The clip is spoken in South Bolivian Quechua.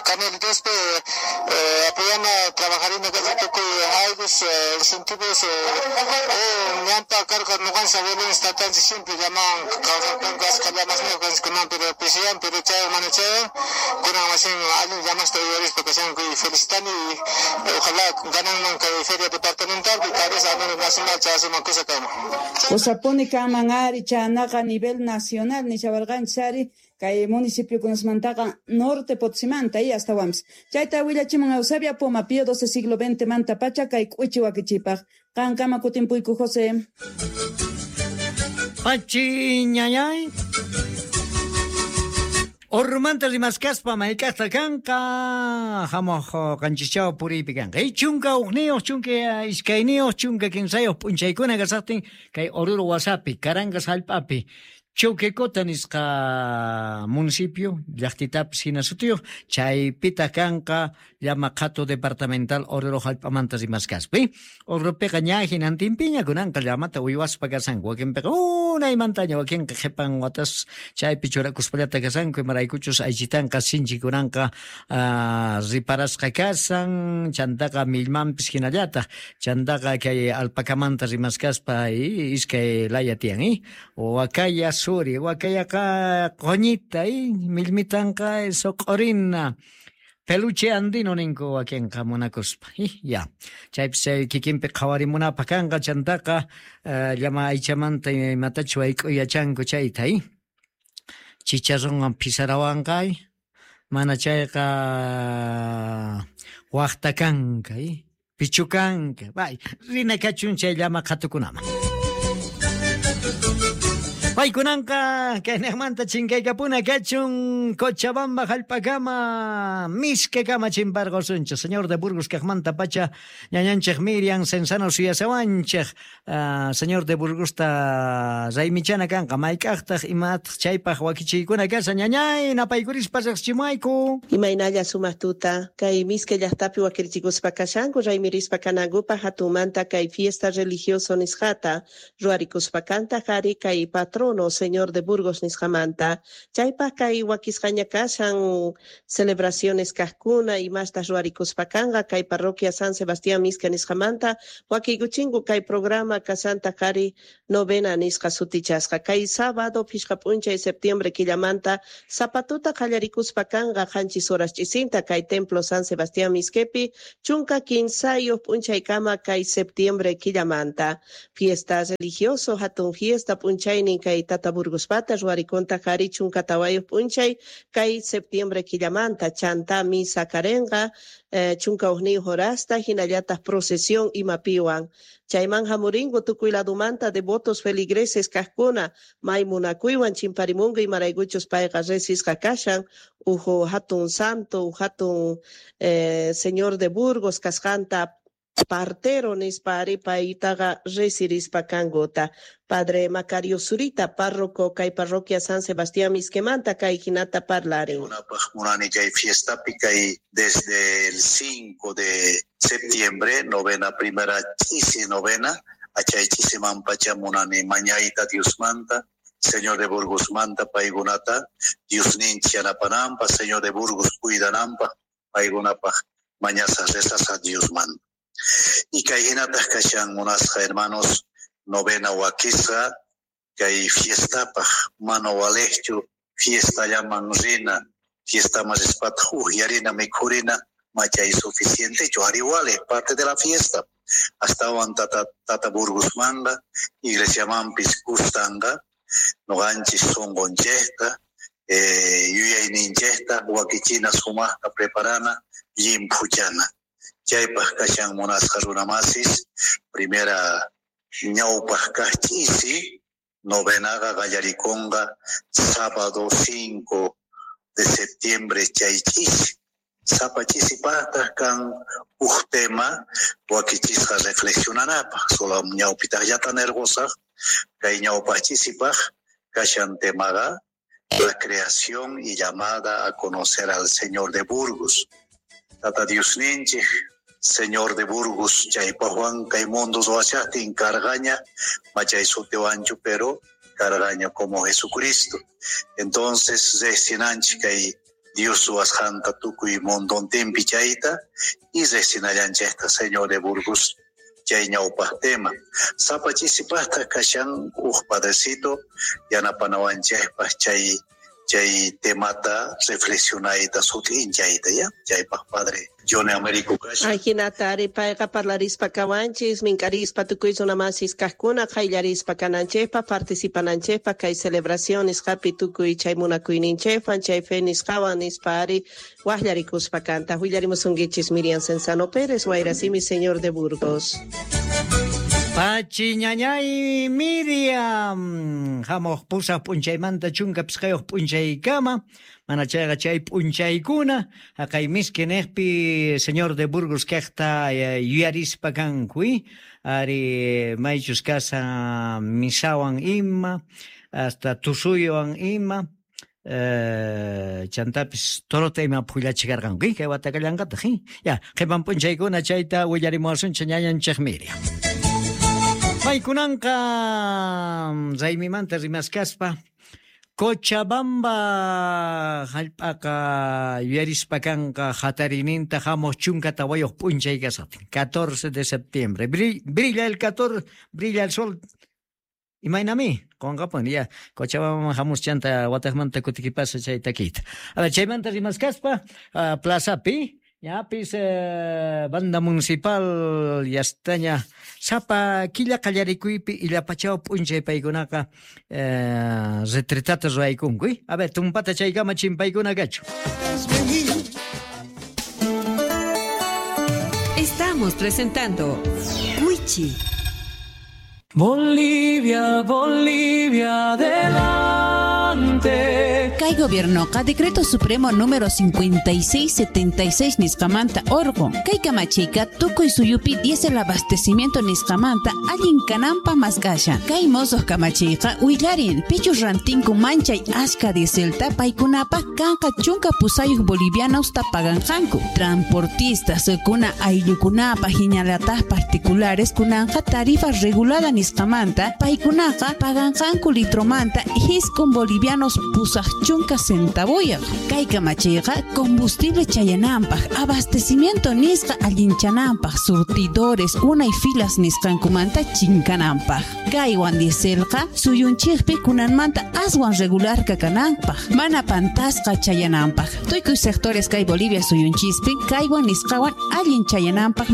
Camelitos apoyana trabajarina tukuy ayllus incentivos ñanpa karqa ñuqanchis abuelos tatanchis siempre llamawan kawsarqanku ashkha llamasniyuq kanchis kunan pero pisiyan pero chaywan mana chaywan kunan wasin allin llamasta uyarispa kashanku y felicitani y ojalá gananman kay feria departamental y tal vez a nivel nacional chayasuman kusa kanman. Kusapuni kanman ari chaynaqa nivel nacional nishawarqanchis ari kay municipiokunasmantaqa Norte Potosimanta y astawanpis. Chayta willachimun Eusebia Poma, Pío XII siglo XX manta pacha kay k'uchi wakichipaq. Qankama kutimpuyku José. Pachi ñañay. Ormanta rimaskaspa mayk'aqta kanqa hamuq qanchischaw puriypi kanqa. 11, 12, 13 p'unchaykuna kasaqtin kay Oruro wasapi, Carangas hallp'api, Choquecota nisqa municipio, llaqtitapis hina sutiyuq, chaypitaq kanqa llama qhatu departamental Oruro hallp'amanta rimaskaspa. Oruropiqa ña hinantinpiña kunanqa llamata uywaspa kasanku, wakinpiqa unaymantaña, wakinqa qhipan watas chaypi churakuspallata kasanku, imaraykuchus aychitanqa sinchi kunanqa riparasqa kasan, chantaqa millmanpis hinallataq, chantaqa kay alpacamanta rimaskaspa iskay laya tiyan, wakaya suri, wakayaqa qoñita, millmitanqa soq'orina, peluche andino ninku wakinqa munakuspa. Ya. Chaypis chay kikinpi qhawarimunapaq kanqa, chantaqa llama aychamanta imatachus wayk'uy yachanku chayta, chicharronwan phisarawanqa, mana chayqa waqta kanka, pichu kanka. Bay, rina kachun chay llama qhatukunaman. Paykunanqa kaynaqmanta chinkaykapuna kachun Cochabamba hallp'akama miskakama chimparqusunchik. Señor de Burgos kaqmanta pacha ñañanchik Miriam Cenzano suyasawanchik. Señor de Burgosta raymichana kanqa mayk'aqtaq imataq chaypaq wakichiykuna kashan ñañay napaykurispa riqsichimuwayku. Imaynalla sumaq tuta kay miska llaqtapi wakirichikuspa kashanku raymirispa kanankupaq hatunmanta kay fiesta religioso nisqata ruwarikuspa kantaq ari kay patrono Señor de Burgos nisqamanta. Chaypaq kay wakisqaña kashan celebraciones kaqkuna imastas ruwarikuspa kanqa kay parroquia San Sebastián Miska nisqamanta wakiykuchinku kay programa kasanta qari novena nisqa sutichasqa. Kay sábado phishqa p'unchay septiembre killamanta zapatuta qallarikuspa kanqa 7 horas ch'isinta kay templo San Sebastián Misquepi 13 p'unchaykama kay septiembre killamanta. Fiesta religioso hatun fiesta p'unchaynin kay Tata Burgospata ruwarikunta qari 14 p'unchay kay septiembre killamanta chanta misa karenqa 11 horasta hinallataq procesión imapiwan. Chayman hamuringu tukuy ladumanta devotos feligreses kaqkuna may munakuywan chimparimungu imaraykuchus payqa resisqa kashan uhu hatun santo uhu hatun Señor de Burgos kasqanta partero nispa ari paytaqa resirispa kankuta. Padre Macario Zurita, párroco kay parroquia San Sebastián Misquemanta kay hinata parlarin. Kunapaq munani kay fiestapi kay desde el 5 de septiembre, novena primera ch'isi novena, achay ch'isiman pacha munani mañayta Diosmanta, Señor de Burgos manta paykunata, Diosninchik yanapananpaq, Señor de Burgos cuidananpaq, paykunapaq mañasas rezasas Diosmanta. Y kay hinataq kashan munasqa hermanos, novena wakisqa kay fiestapaq mana walejchu fiestallaman rina, fiestaman rispataq uhyarina mikhurina machay suficientechu, ari wale parte de la fiesta. Astawan tata Burgosmanta, iglesiamanpis kustanqa, noqanchis sunqunchikta, yuyayninchikta wakichina sumaqta preparana, llimphuchana. Chaypaq kashan munasqa runamasis, primera ñawpaq kaq ch'isi, novenaqa qallarikunqa sábado 5 de septiembre chay ch'isi. Sapa ch'isipaqtaq kan uj tema wakichisqa reflexionanapaq, solo ñawpitaqllata nirqusaq, kay ñawpaq ch'isipaq kashan temaqa la creación y llamada a conocer al Señor de Burgos. Tata Diosninchik, Señor de Burgos, chaypaqwan kay mundo ruwashaqtin cargaña, machay sutiwanchu, pero cargaña como Jesucristo. Entonces, reqsinanchik kay Dios ruwasqanta tukuy mundontinpi chayta y riqsinallanchikta Señor de Burgos chay ñawpaq tema. Sapa chisipaqtaq kashan uj padrecito yanapanawanchikpaq chay temata reflexionayta sut'inchayta ya chaypaq padre Johnny Américo kashan. Ajinata ari payqa parlarispa kawanchis minkarispa tukuy runamasis kaqkuna qayllarispa kananchikpaq participananchikpaq kay celebración nisqapi tukuy chay munakuyninchikwan chay fe nisqawan nispa ari waqllarikuspa kanta. Willarimusunkichis Miriam Cenzano Pérez, Wayrasimi, Señor de Burgos. Pachi ñañay Miriam, hamuq pusaq p'unchaymanta chunka pisqayuq p'unchaykama, mana chayqa chay p'unchaykuna, haqay miski niqpi Señor de Burgos kaqta yuyarispa kanku, ari maychus kasa misawan ima, hasta tusuywan ima, chantapis torota ima phullachikarqanku, kay watakallanqataq, ya qhipan p'unchaykuna chayta willarimuwasunchik ñañanchik Miriam. Paykunanqa raymimanta rimaskaspa Cochabamba hallp'aqa yuyarispa kanqa hatarininta hamuq chunka tawayuq p'unchay kasaqtin 14 de septiembre. Brilla el 14, brilla el sol. Imaynami qunqapuni ya Cochabamba hamus chanta wataqmanta kutikipasa chay takiyta. A ver, chaymanta rimaskaspa plazapi ñapis banda municipal yastaña sapa killa qallarikuypi illapachaw p'unchay paykunaqa retretata ruwaykunku. A ver, tumpata chaykama chimpaykuna kachu. Estamos presentando Wichi. Bolivia, Bolivia, adelante. Kay gobiernoqa Decreto Supremo número 5676 nisqamanta orqun. Kay kamachiyqa tukuy suyupi diésel abastecimiento nisqamanta allin kananpaq mask'ashan. Kay mosuq kamachiyqa willarin pichus rantinku manchay ashka dieselta paykunapaq kanqa 18 bolivianos paganqanku. Transportistas kuna ayllukunapaq hinallataq particulares kunanqa tarifa regulada nisqamanta paykunaqa paganqanku litromanta 9 bolivianos 80 centavuyaq. Kay kamachiyqa combustible chayananpaq, abastecimiento nisqa allinchananpaq, surtidores unay filas nisqankumanta chinkananpaq. Kaywan dieselqa suyunchikpi kunanmanta aswan regular kakananpaq, mana pantasqa chayananpaq. Tukuy sectores kay Bolivia suyunchispi kaywan nisqawan allin chayananpaq.